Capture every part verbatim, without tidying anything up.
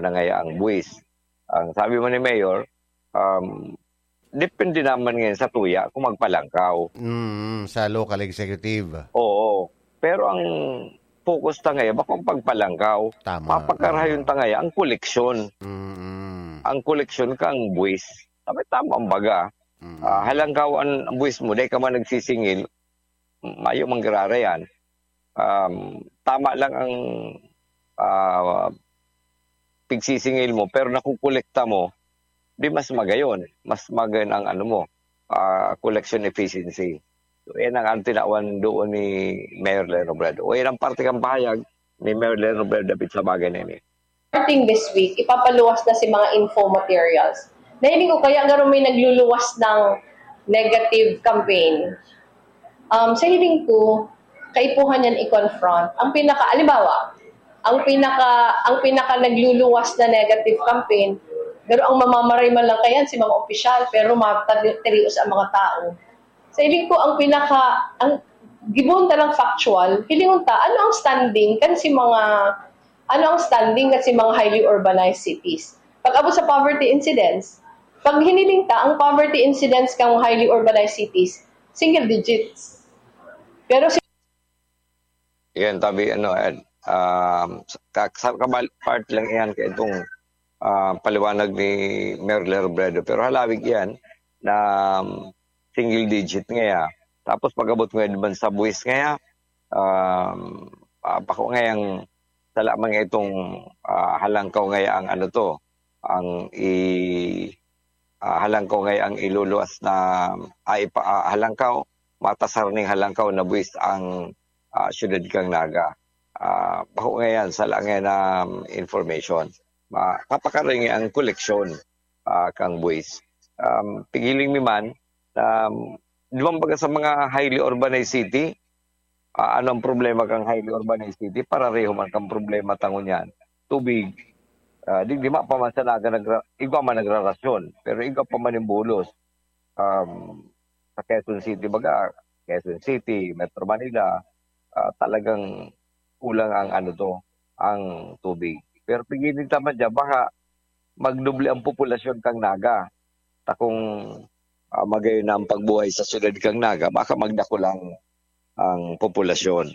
na ngaya ang buwis. Ang sabi man ni Mayor, um, depende naman ngayon sa tuya kung magpalangkaw. Mm, sa local executive. Oo. Pero ang focus ta ngayon, bako ang pagpalangkaw. Tama. Papakarahayon ta ngayon ang koleksyon. Mm. Ang koleksyon kang buwis. Sabi, tama ang baga. Mm. Ah, halangkaw ang buwis mo, dahil ka man nagsisingil, mayo manggirara yan. Um, tama lang ang, ah, pigsisingil mo, pero nakukolekta mo, di mas magayon. Mas magayon ang ano mo, ah, collection efficiency. So, yan ang, ang tinawan doon ni Mayor Leno Robredo. O, yan ang parte kang pahayag ni Mayor Leno Robredo dapit sa bagay na ini. Starting this week, ipapaluwas na si mga info materials. Nahiling ko kaya garo may nagluluwas ng negative campaign. Um, sa hiling ko, kaipuhan yan i-confront. Ang pinaka, alimbawa, ang pinaka, ang pinaka nagluluwas na negative campaign, pero ang mamamaray man lang kayan si mga opisyal, pero matirios ang mga tao. Sa hiling ko, ang pinaka, ang gibon talang factual, hilingon ta, ano ang standing kan si mga, ano ang standing kan si mga highly urbanized cities? Pag-abot sa poverty incidence, pag hiniling ta, ang poverty incidence kan highly urbanized cities, single digits. Pero si Yan, tabi, ano, Ed, um, sa, ka-, sa kabal-, part lang yan kaya itong, ah, paliwanag ni Mayor Leo Robredo. Pero halawig yan na, um, single digit ngaya. Tapos pag-abot ngayon naman sa buwis ngaya, um, ah, bako ngayang sala man nga itong, ah, halangkaw ngaya ang ano to, ang i-, ah, halangkaw ngaya ang iluluwas na, ay, pa, ah, halangkaw, matasar ning halangkaw na buwis ang, ah, siyudad kang Naga. Ah, bako ngayan, sala ngayan na, um, information. Ma-, papakaringi ang koleksyon, ah, kang buwis. Um, pigiling mi man, um, di ba, baga sa mga highly urbanized city, ah, ano ang problema kang highly urbanized city? Parareho man kang problema ta ngunyan. Tubig. Ah, di, di ma pa man sa Naga nagra-, igwa man nagrarasyon, pero igwa pa man yung bulos. Um, sa Quezon City, baga, Quezon City, Metro Manila, ah, talagang kulang ang ano to, ang tubig. Pero pigiling ta man dyan, baka magdoble ang populasyon kang Naga. Ta kung, ah, magayon na ang pagbuhay sa siyudad kang Naga, baka magdakul ang, ang populasyon.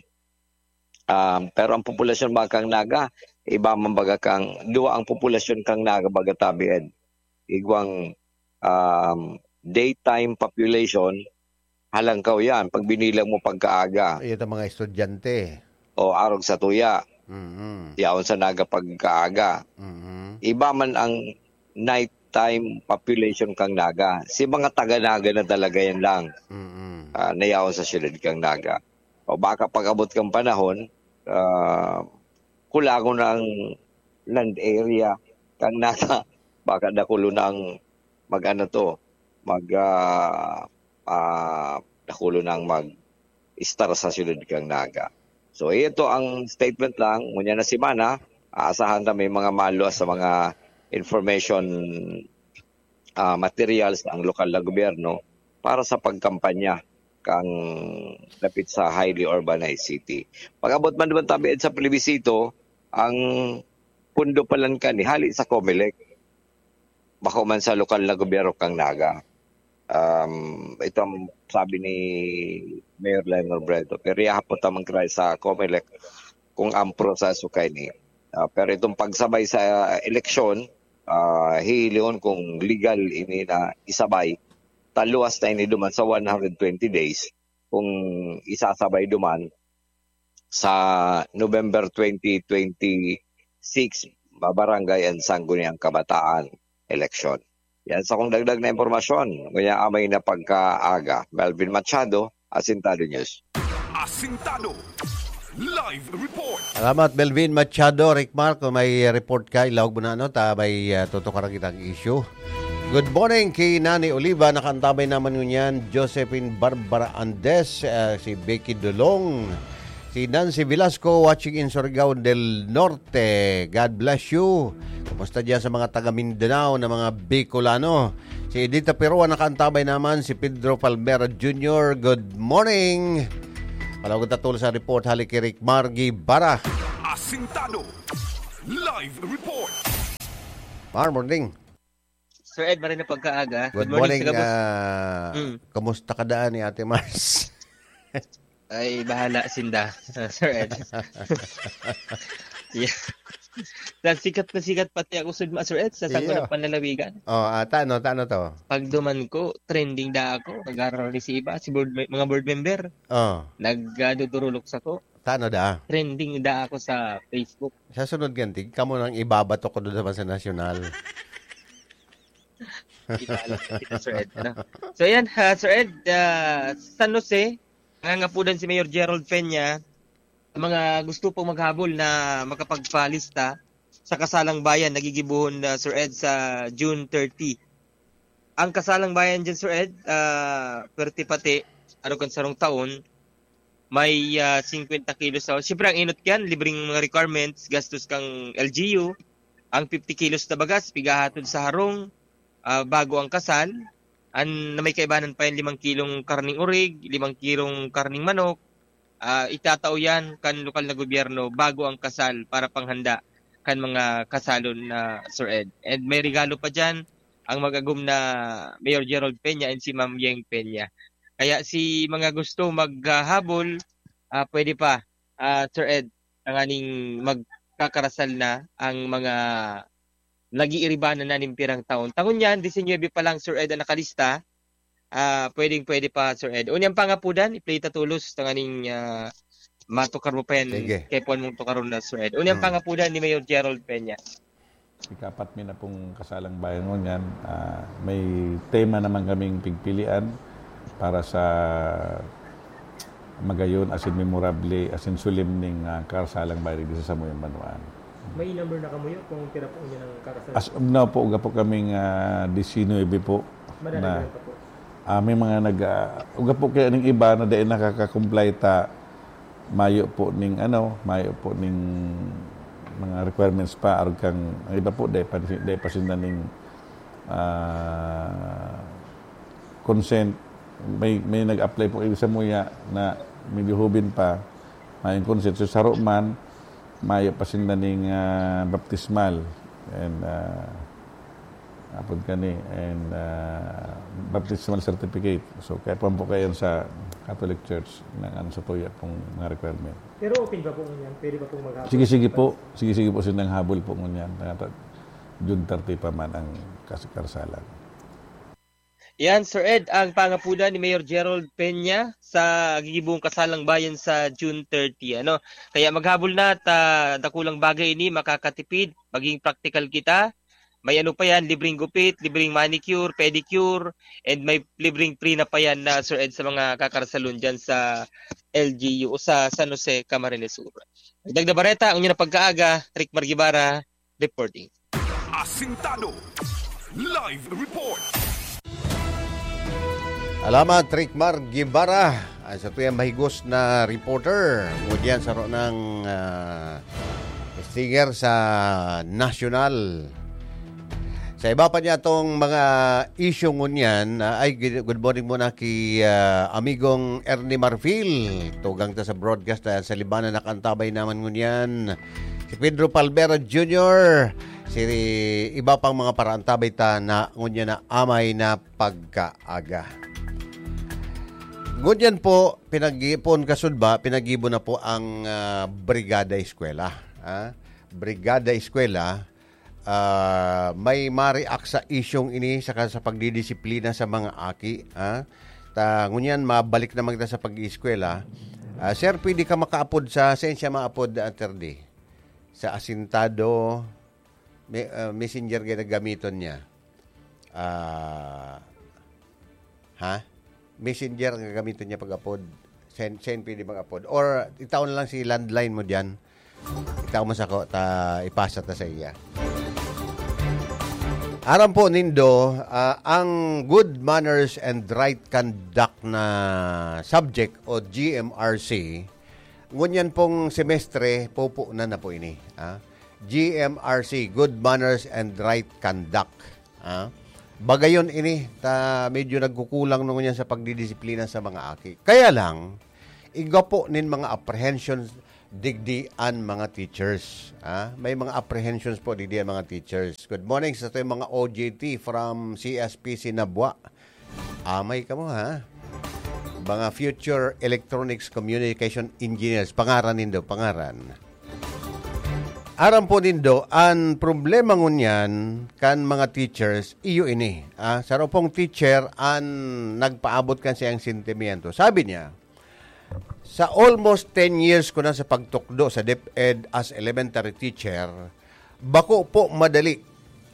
Um, pero ang populasyon ba kang Naga, iba man baga kang, duwa ang populasyon kang Naga baga tabi, Ed. Igwang, um, daytime population, halangkaw yan. Pag binilang mo pagkaaga. Ito mga estudyante. O, arog sa tuya. Mm-hmm. Yaon sa Naga pagkaaga. Mm-hmm. Iba man ang nighttime population kang Naga. Si mga taga-Naga na talaga yan lang. Mm-hmm. Ah, nayaon sa siyudad kang Naga. O baka pag-abot kang panahon, ah, kulangon na ang land area kang Naga. Baka dakulo na ang mag-ano to, mag, ah, ah, dakulo na ang mag-istar sa siyudad kang Naga. So, ito ang statement lang. Ngunyan na semana, aasahan na may mga maluwas sa mga information, ah, materials ang lokal na gobyerno para sa pagkampanya kang dapit sa highly urbanized city. Pag-abot man naman tabi sa plebisito, ang pundo palan kani hali sa Comelec. Bako man sa lokal na gobyerno kang Naga. Um, ito ang sabi ni Mayor Lionel Brento. Pero ihapot naman kaya sa Comelec kung ang proseso kaini. Ah, pero itong pagsabay sa eleksyon, ah, hihilingon kung legal ini na isabay, taluwas na ini duman sa one hundred twenty days kung isasabay duman sa November twenty twenty-six, Barangay and Sangguniang Kabataan election. Yan sa kong dagdag na impormasyon. Ngunyan amay na pagkaaga. Melvin Machado, Asintado News. Asintado. Live report. Salamat, Melvin Machado. Rick Mark, kung may report ka, ilawag mo na, ano, ta may, ah, tutukaran kitang issue. Good morning kay Nani Oliva, nakaantabay naman ngunyan, Josephine Barbara Andes, ah, si Becky Dolong, si Nancy Velasco, watching in Surigao del Norte. God bless you. Kumusta diyan sa mga taga Mindanao na mga Bicolano? Si Edita Perua nakaantabay naman, si Pedro Palmera Junior. Good morning. Palawag ta tolos sa report, hali kay Rick Margie Bara. Asintado. Live report. Mar, morning. Sir Ed, maray na pagkaaga. Good morning, ah, kumusta ka daan ni Ate Mars? Ay, bahala sinda, Sir Ed. Yeah. Sa sikat na sikat pati ako, Sir, Sir Ed, sa sango Yeah. ng panlalawigan. Oh, ah, tano, tano to? Pagduman ko, trending da ako. Nag-aaral ni si iba, si board, mga board member. Oh. Nagdudurulok sa ko. Tano da? Trending da ako sa Facebook. Sa sunod ganti, kamo nang ibabato ko doon naman sa nasyonal. Ibabato kita, Sir Ed. Ano? So, yan, ha, Sir Ed, ah, San Jose, nangangapudan si Mayor Gerald Peña, sa mga gusto pong maghabol na makapagpalista sa kasalang bayan, nagigibuhon na, Sir Ed, sa June thirty. Ang kasalang bayan dyan, Sir Ed, ah, pwerte pati, araw kan sarong taon, may ah, fifty kilos sa... Siyempre, ang inot yan, libreng mga requirements, gastos kang L G U, ang fifty kilos na bagas, pigahatod sa harong, ah, bago ang kasal, an, na may kaibanan pa yan, limang kilong karning urig, limang kilong karning manok, ah, itatao yan kan lokal na gobyerno bago ang kasal para panghanda kan mga kasalon na Sir Ed. And may regalo pa dyan ang mag-agom na Mayor Gerald Peña and si Ma'am Yeng Peña. Kaya si mga gusto maghabol, ah, pwede pa, ah, Sir Ed, tanganing magkakarasal na ang mga nag-iiribanan na nin pirang taon. Tangon yan, disinuyebe pa lang, Sir Ed, ang nakalista. Ah, pwedeng pwede pa, Sir Ed. Unyang pangapudan, i-play ta tolos, tanganing ah, matukar mo pa yan. Sige. Kaya puwan mong tukaron na, Sir Ed. Unyang Hmm. pangapudan ni Mayor Gerald Peña. Ikapat mi na pong kasalang bayan ngunyan. Ah, may tema naman kaming pigpilian para sa magayon asin memorable asin solemneng ah, kasalang bayan digdi sa samuyang banwaan. May number na kamuyo kung pira po niya ng karasan? As of now po, uga po kaming ah, disinuyebe po. Madadagdagan pa po. Ah, may mga nag ah, uga po kaya ning iba na dahil nakaka-comply ta mayo po ning ano, mayo po ning mga requirements pa arog kang ang iba po dai pa dai pa sinda ning ah, consent. May may nag-apply po sa muya na medyo hubin pa, mayong consent. So, saro man, mayo pa sinda ning ah, baptismal and ah, apod kani and ah, baptismal certificate. So, kaya po po kayo sa Catholic Church ng ano sa tuya pong mga requirement. Pero open pa po ngunyan? Pwede pa pong maghapon? Sige, sige po. Sige, sige po silang habol po ngunyan. June thirty pa man ang kas- kasalan. Yan, Sir Ed, ang pangapudan ni Mayor Gerald Peña sa gigibong kasalang bayan sa June thirty. Ano? Kaya maghabol na at ah, dakulang bagay ini, makakatipid, maging practical kita. May ano pa yan, libreng gupit, libreng manicure, pedicure, and may libreng free na pa yan na, Sir Ed, sa mga kakarsalon dyan sa L G U o sa San Jose, Camarines Sur. Dagdag na bareta, ang inyong pagkaaga, Rick Margibara, reporting. Asintado. Live report. Alamat, Rick Mar Guevara, ang sa tuyang mahigos na reporter. Ngunyan sa ro ng ah, stinger sa nasyonal. Sa iba pa niya itong mga issue ngunyan, ah, ay, good good morning muna kay ah, amigong Ernie Marfil. Tugang ta sa broadcast na sa Libanan nakantabay naman ngunyan. Si Pedro Palmera Junior, si iba pang mga paraantabay ta na ngunyan na amay na pagkaaga. Ngunyan po, pinag-iipon kasudba, pinag-ibo na po ang ah, Brigada Eskwela. Ah, Brigada Eskwela, ah, may ma-react sa isyong ini saka sa pagdidisiplina sa mga aki, ah. Ta, ngunyan, mabalik naman kita sa pag-ieskwela. Ah, sir, pwede ka makaapod sa, saan siya maapod, Attorney? Sa Asintado, me- ah, messenger gaya gamiton niya. Ah, ha? Messenger ang gagamiton niya pag-apod. Send, send pwede mag-apod. Or, itaon lang si landline mo dyan. Itaw mo sako, ta ipasa ta sa iya. Aram po nindo, ah, ang good manners and right conduct na subject o G M R C, ngunyan pong semestre, pupunan na po ini. Ah. G M R C, good manners and right conduct. Ah. Bagayon ini, ta medyo nagkukulang ngunyan sa pagdidisiplina sa mga aki. Kaya lang, igwa po nin mga apprehension Digdi an mga teachers, ha? May mga apprehensions po digdi an mga teachers. Good morning sa atong mga O J T from C S P C Nabua. Amay kamo, ha? Mga future electronics communication engineers. Pangaran nindo, pangaran. Aram po nindo, an problema ngunyan kan mga teachers, iyo ini. Ah, saro pong teacher an nagpaabot kan siyang sentimiento. Sabi niya, "Sa almost ten years ko na sa pagtukdo sa DepEd as elementary teacher, bako po madali.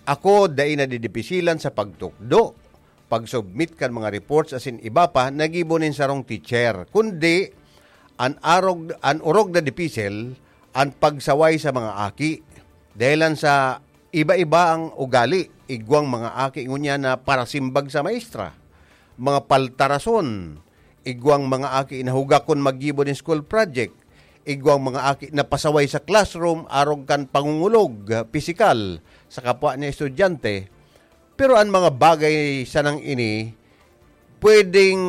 Ako dai nadidipisilan sa pagtukdo, pag-submit kan mga reports asin iba pa na gibo nin sarong teacher, kundi an arog, an orog na dipisil, an pagsaway sa mga aki. Dahelan sa iba-iba ang ugali, igwang mga aki ngunyan na parasimbag sa maestra, mga paltarason, igwang mga aki na hugakon maggibo nin school project, igwang mga aki na pasaway sa classroom arog kan pangungulog, ah, pisikal sa kapwa niya estudyante. Pero an mga bagay sanang ini, pwedeng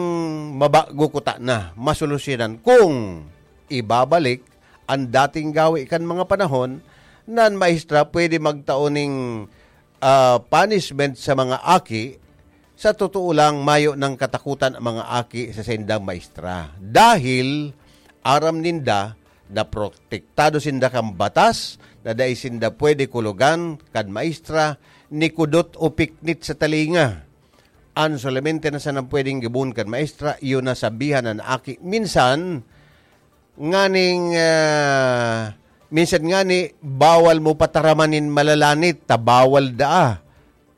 mabago kuta na, masolusyonan kung ibabalik an dating gawi kan mga panahon na an maestra pwede magtao ning, ah, punishment sa mga aki." Sa totoo lang, mayo nang katakutan ang mga aki sa saindang maestra. Dahil aram ninda na protektado sinda kan batas, na dai sinda pwede kulogan kan maestra ni kudot o piknit sa talinga. An solamente na sanang pwedeng gibon kan maestra, iyo na sabihan an aki. Minsan, nganing, ah, minsan ngani, bawal mo pataraman nin malalanit, ta bawal daa.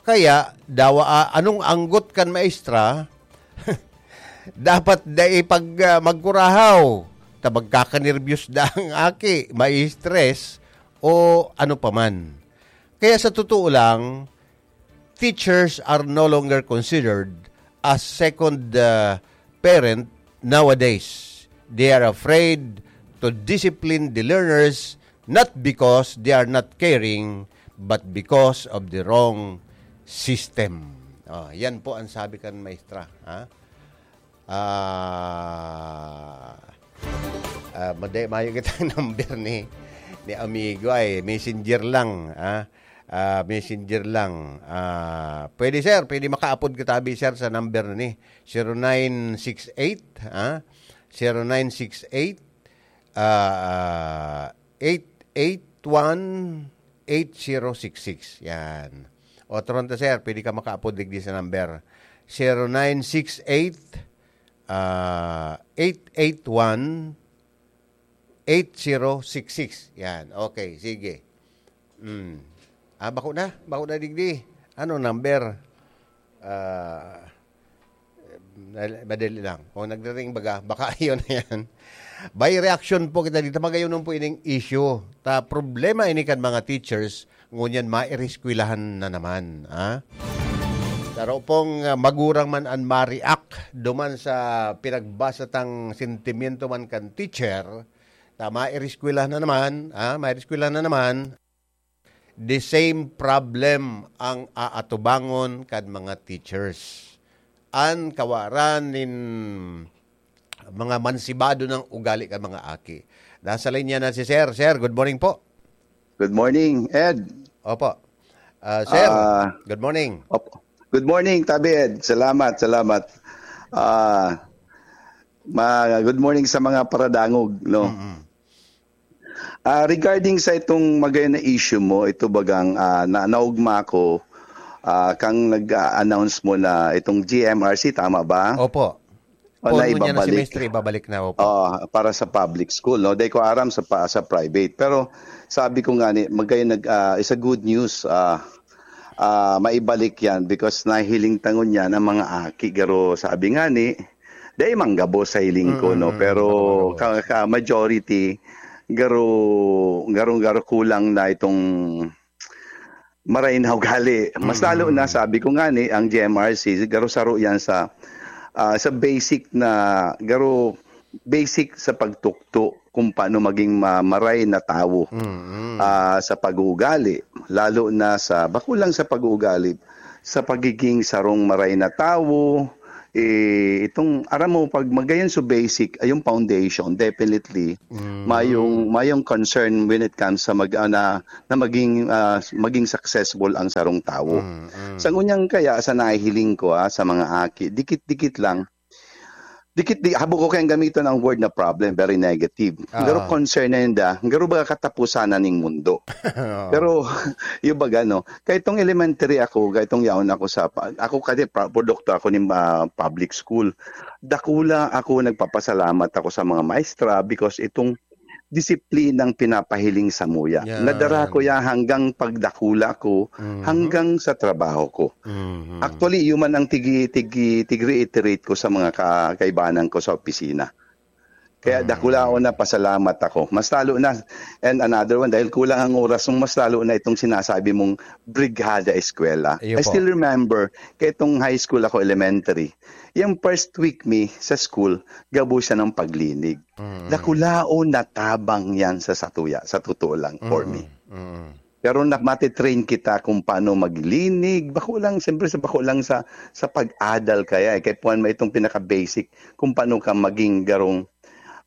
Kaya, dawa, ah, anong anggot kan maestra, dapat dai pag, ah, magkurahaw, ta magkakanerbiyos daa ang aki, mai-stress, o ano pa man. Kaya sa totoo lang, teachers are no longer considered as second, uh, parent nowadays. They are afraid to discipline the learners, not because they are not caring, but because of the wrong system. Oh, yan po ang sabi kan maestra, ha? Ah, ah, made-, mayo kitang number ni, ni amigo ay messenger lang, ah. Ah, messenger lang. Ah, pwede, sir, pwede makaapod kita abi, sir, sa number na ni zero nine six eight, ah, zero nine six eight, ah, eight eight one, eight zero six six. Yan. Otro nito, sir, pwede ka makaapod digdi sa number zero nine six eight, ah, eight eight one, eight zero six six. Yan. Okay, sige. Mm. Ah, bako na? Bako na digdi? Ano number? Ah, madali lang. Kung nagre-ring baga, baka yun na yan. By reaction po kita dito, magayon po ining issue. Ta problema ini kan mga teachers, ngunyan maireskwelahan na naman, ha? Saro pong, ah, magurang man an ma-react duman sa pinagbasa tang sentimiento man kan teacher, ta maireskwelahan na naman, ha? Maireskwelahan na naman. The same problem ang aatubangon kan mga teachers. An kawaran nin mga mansibado ng ugali kan mga aki. Nasa linya na si Sir. Sir, good morning po. Good morning, Ed. Opo. Ah, sir, Ah, good morning. Opo. Good morning, Tabi Ed. Salamat, salamat. Ah, ma-, good morning sa mga paradangog, no? Mm-mm. Ah, regarding sa itong magayon na issue mo, ito bagang, ah, na-, naugma ko, ah, kang nag-a-announce mo na itong G M R C, tama ba? Opo. O, poon ngunyan na semestre, ibabalik na, opo. Ah, para sa public school, no? Dai ko aram sa pa-, sa private. Pero sabi ko nga ni, magayon nag-, ah, is a good news, ah, ah, maibalik yan because nahiling ta ngunyan ang mga aki. Garo sabi nga ni, dai man gabos sa hiling ko, no? Mm, mm, Pero bako, bako. ka, ka majority, garo, garo, garo kulang na itong maray na ugali. Mas lalo na, Mm. sabi ko nga ni, ang G M R C, garo saro yan sa, ah, sa basic na, garo basic sa pagtukdo kung paano maging ma-, maray na tawo, Mm. ah, sa pag-uugali. Lalo na sa, bako lang sa pag-uugali, sa pagiging sarong maray na tawo, Eh, itong, aram mo, pag magayon sa basic, ay yung foundation, definitely, Mm. mayong, mayong concern when it comes sa mag-, ah, na, na maging, ah, maging successful ang sarong tawo. Mm, mm. Sa ngunyang kaya, sa nahihiling ko, ah, sa mga aki, dikit-dikit lang, dikit, di, habo ko kayang gamiton ang word na problem, very negative. Ah. Pero concern na yun da, pero baga katapusan na ning mundo. Oo. Pero, yung baga, no, kahit tong elementary ako, kahit tong yaon ako sa, pa-, ako kasi pra-, produkto ako ng, ah, public school. Dakula ako, nagpapasalamat ako sa mga maestra because itong disiplinang pinapahiling sa muya. Yan. Nadara ko yan hanggang pagdakula ko, Mhm. hanggang sa trabaho ko. Mhm. Actually, yun man ang tigi-, tigi-, tig-reiterate ko sa mga ka-, kaibanan ko sa opisina. Kaya Mm. dakulaon na pasalamat ako. Mas lalo na, and another one, dahil kulang ang oras, mas lalo na itong sinasabi mong Brigada Eskwela. Iyo I po. still remember, kaya itong high school ako, elementary, yung first week mi sa school, gabo siya ng paglinig. Mm. Dakulaon na tabang yan sa satuya, sa totoo lang, for Mm, me. mm. Pero na, matitrain kita kung paano maglinig. Bako lang, siyempre, sa bako lang sa, sa pag-adal kaya, eh. Kaya puwan mo itong pinaka-basic kung paano ka maging garong,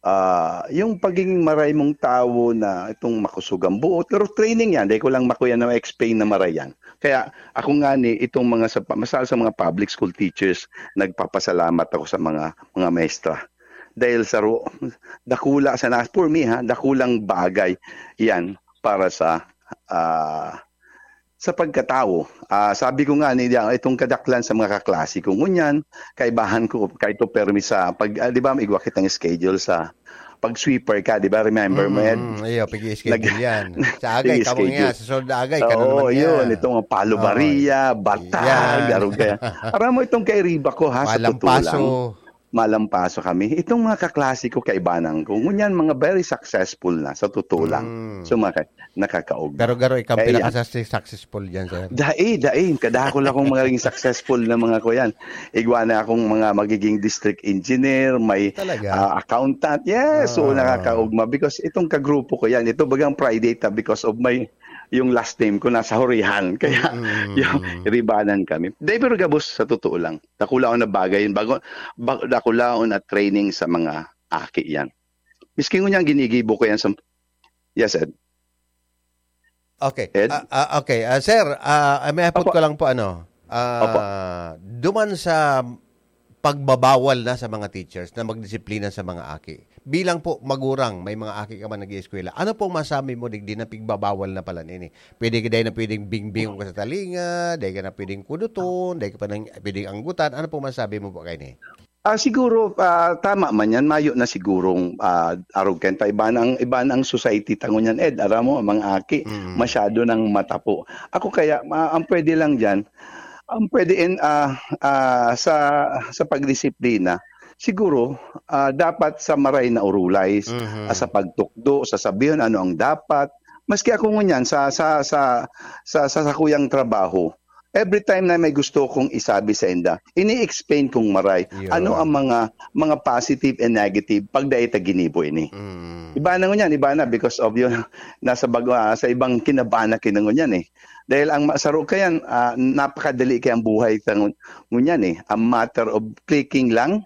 ah, yung pagiging maray mong tawo na itong makusog ang buot. Pero training yan, dahil ko lang makuya na ma-explain na maray yan. Kaya ako nga ni, itong mga sa, masal sa mga public school teachers, nagpapasalamat ako sa mga, mga maestra. Dahil sa ro-, dakula sa nas-, for me ha, dakulang bagay yan para sa, ah, sa pagkatawo. Ah, sabi ko nga ni, itong kadaklan sa mga kaklase ko, ngunyan, kaibahan ko, kahit to permi sa, pag, ah, di ba, igwa kitang schedule sa pag-sweeper ka, di ba? Remember mo, Ed? Mm, iyo, pigi-schedule Nag-, yan. Sa agay, kamo pigi-schedule. nga, sa sunod na agay, Oo, kanunod yun, niya. itong palubaria, Oo, batag, yan. arog kaya. Aram mo itong kairiba ko, ha, sa totoo lang. Malampaso. Malampaso kami. Itong mga kaklase ko, kaibanan ko. Ngunyan, mga very successful na, sa totoo lang. Mm. So, mga ka-, nakakaog. Pero garo, ikaw Kaya yan. pinakasas-, successful dyan, sir. Dai, dai. Kadakol akong magiging successful na mga kuyan. Igwa na akong mga magiging district engineer, may, Talaga? ah, accountant. Yes, so Ah. nakakaugma. Because itong kagrupo ko yan, ito bagang pride ta because of my, yung last name ko nasa Hurihan. Kaya Mm. yung ribanan kami. Dai, pero gabos, sa totoo lang. Dakula ako na bagay yun. Bago, ba-, dakula ako na training sa mga aki yan. Miski ngunyan, ginigibo ko yan sa, yes, Ed. Okay. Ed? Ah, ah, okay. Ah, sir, ah, ah, may hapot Opo. ko lang po, ano, ah, Opo. duman sa pagbabawal na sa mga teachers na magdisiplina sa mga aki. Bilang po magurang, may mga aki ka man nag-ieskwela, ano pong masabi mo digdi na pigbabawal na pala nini? Pwede ka, dai na pwedeng bingbingon ka sa talinga, dai ka na pwedeng kuduton, dai ka pa nang pwedeng anggutan. Ano pong masabi mo po kaini? Ah, siguro, ah, tama man yan. Mayo na sigurong, ah, arog kayan ta. Iba na ang, iba na ang society ta ngunyan, Ed. Aram mo, ang mga aki, Mm. masyado nang matapo. Ako kaya, ah, ang pwede lang dyan, ang pwede in, ah, ah, sa, sa pagdisiplina, siguro, ah, dapat sa maray na urulay, Mhm. ah, sa pagtukdo, sa sabihon ano ang dapat. Maski ako ngunyan, sa, sa, sa, sa, sa sakuyang trabaho, every time na may gusto kong isabi sa inda, ini-explain kong maray, Yun. ano ang mga, mga positive and negative pag dai ta ginibo ini. Mm. Iba na ngunyan, iba na because of yun, nasa bag-, ah, sa ibang kinabana kinangunyan eh. Dahil ang ma-, saro kayan, ah, napakadali kayang buhay sa ngun-, ngunyan eh. A matter of clicking lang,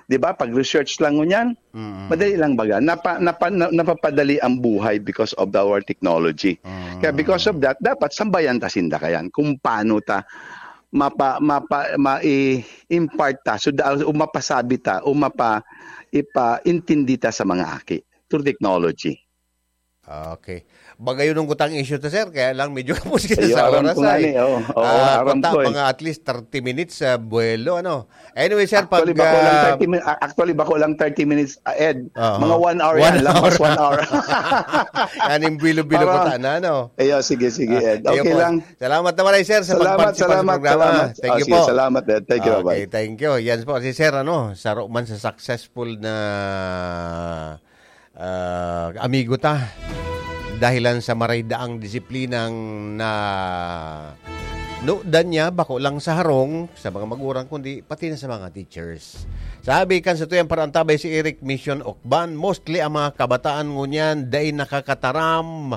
di ba? Pag-research lang ngunyan, Mm. madali lang baga. Napa-, napa-, na-, napapadali ang buhay because of our technology. Mm. Kaya because of that, dapat sambayan ta sinda kayan kung paano ta mapa-, mapa-, ma-i-, impart ta, so da-, o mapasabi ta, o mapa-, ipaintindi ta sa mga aki through technology. Okay. Baga yun ang gutang issue ta, sir. Kaya lang medyo kapos kita Iyo, sa aram oras ko nga ay. ni, oo. Oo, Ah, aram kunta, ko eh. mga at least thirty minutes sa buwelo, ano? Anyway, sir, Actually, pag, bako lang ah, thirty min-, ah, actually, bako lang thirty minutes, ah, Ed. Oo. Mga one hour One yan, lampas hour. one hour. Yan yung bilo-bilo Parang, ko ta na, ano? Iyo, sige, sige, Ah, Ed. iyo Okay po. lang. Salamat na maray, sir, sa Salamat, pag-participate sa salamat, programa. salamat. Thank Ah, you sige, po. salamat, Ed. Thank you, Okay, bye-bye. thank you. Yan po si sir, ano, saro man sa successful na ah, amigo ta. Dahilan sa maray daang disiplinang na nudan niya, bako lang sa harong, sa mga magurang, kundi pati na sa mga teachers. Sabi kan sa tuyang parantabay si Eric Mission Okban, mostly ang mga kabataan ngunyan dai nakakataram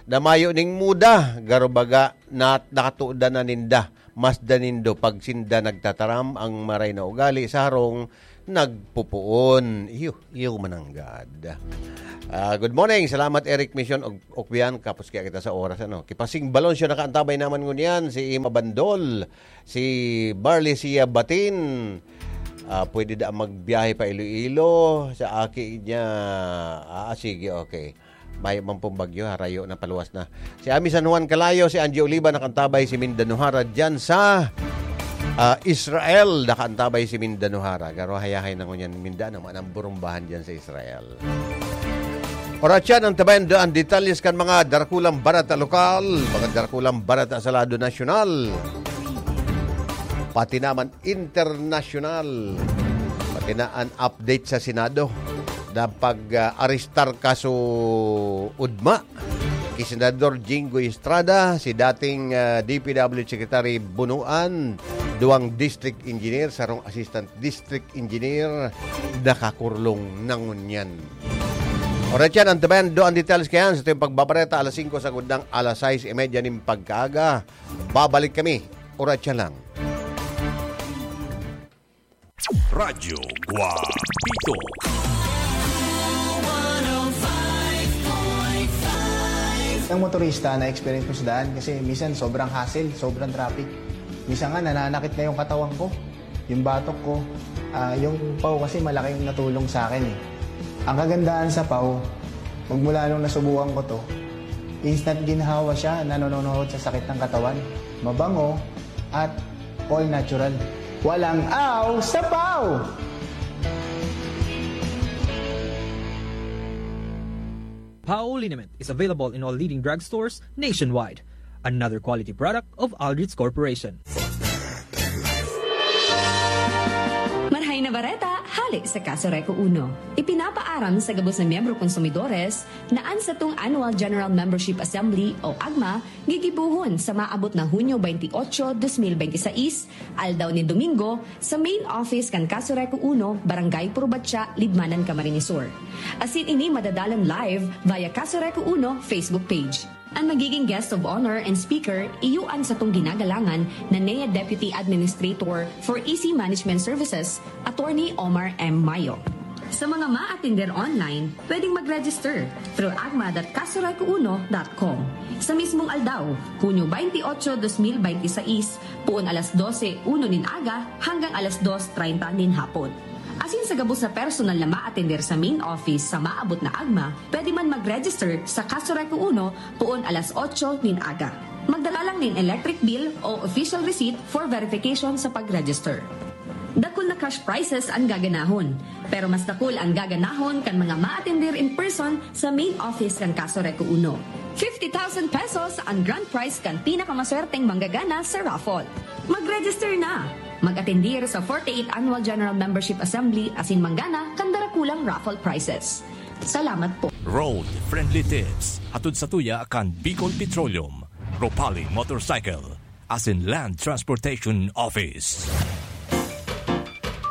na mayo ning muda, garo baga na nakatuda na ninda. Mas da nindo pag sinda nagtataram, ang maray na ugali sa harong nagpupuon. Iyo, iyo mananggad. Ah, good morning. Salamat, Eric Mission og Okbian. Kapos kaya kita sa oras, ano. Kipasing Balonsyo nakaantabay naman ngunyan. Si Ima Bandol, si Barley Sia Batin. Ah, pwede da magbiyahe pa Iloilo sa aki niya. Ah, sige, okay. Mayo man pong bagyo, harayo na, paluwas na. Si Ami San Juan Calayo, si Angie Oliva, nakaantabay si Mindanuhara dyan sa, ah, Israel. Nakaantabay si Mindanuhara. Garo hayahay na ngunyan Mindanao, manang burumbahan dyan sa Israel. Oras yan, ang tabayan do ang detalles kan mga darakulang barata lokal, mga darakulang barata sa lado nasyonal. Pati naman internasyonal. Pati na an update sa Senado na pag-arestar kaso ugma ki Senador Jinggoy Estrada, si dating, ah, D P W Secretary Bunuan, duwang district engineer, sarong assistant district engineer, nakakurlong na ngunyan. Oras yan, ang tabayan do ang details kayan sa tuyong pagbabareta, alas singko sagod nang alas sais y media nin pagkaaga. Babalik kami. Oras yan lang. Radyo Guapito. Ang motorista na experience ko sa daan kasi minsan sobrang hassle, sobrang traffic. Minsan nga nananakit na yung katawan ko, yung batok ko. Ah, yung pau kasi malaking natulong sa akin eh. Ang kagandahan sa pau, magmula nung nasubukan ko to, instant ginhawa siya, nanononood sa sakit ng katawan. Mabango at all natural. Walang aw sa pau! Pau liniment is available in all leading drugstores nationwide. Another quality product of Aldrich Corporation. Marhay na bareta, hale sa Kaso Reco Uno. Ipinapaaram sa gabos na miyembro konsumidores na an satong Annual General Membership Assembly o agma gigibohon sa maabot na Hunyo twenty-eight, twenty twenty-six, aldaw nin Domingo, sa main office kan Kaso Reco Uno, Barangay Purbatya, Libmanan, Camarines Sur. Asin ini madadalan live via Kaso Reco Uno Facebook page. An magiging guest of honor and speaker, iyo an satong ginagalangan na N E A Deputy Administrator for E C Management Services, Attorney Omar M. Mayo. Sa mga maatender online, pwedeng mag-register through agma dot kasoreco uno dot com. Sa mismong aldaw, Hunyo twenty-eight, twenty twenty-six, poon alas dose uno nin aga hanggang alas dos treinta nin hapon. Asin sa gabos na personal na maatender sa main office sa maabot na agma, pwede man mag-register sa Kaso Reco Uno poon alas otso nin aga. Magdala lang nin electric bill o official receipt for verification sa pag-register. Dakul na cash prizes an gaganahon, pero mas dakul an gaganahon kan mga maatender in person sa main office kan Kaso Reco Uno. Fifty thousand pesos an grand prize kan pinakamaswerteng manggagana sa raffle. Mag-register na! Mag-atendir sa forty-eighth Annual General Membership Assembly asin manggana kan darakulang raffle prizes. Salamat po. Road Friendly Tips, hatod satuya kan Bicol Petroleum, Ropali Motorcycle, asin Land Transportation Office.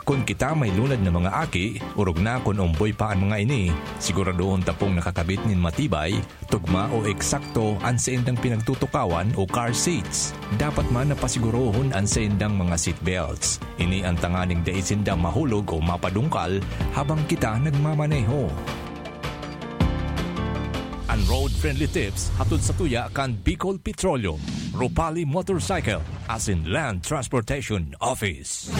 Kun kita may lunad na mga aki, orog na kun omboy pa an mga ini, siguradohon ta pong nakakabit nin matibay, tugma o eksakto an saindang pinagtutukawan o car seats. Dapat man na pasigurohon an saindang mga seat belts. Ini an tanganing dai sinda mahulog o mapadungkal habang kita nagmamaneho. An Road Friendly Tips hatod satuya kan Bicol Petroleum, Ropali Motorcycle, asin Land Transportation Office.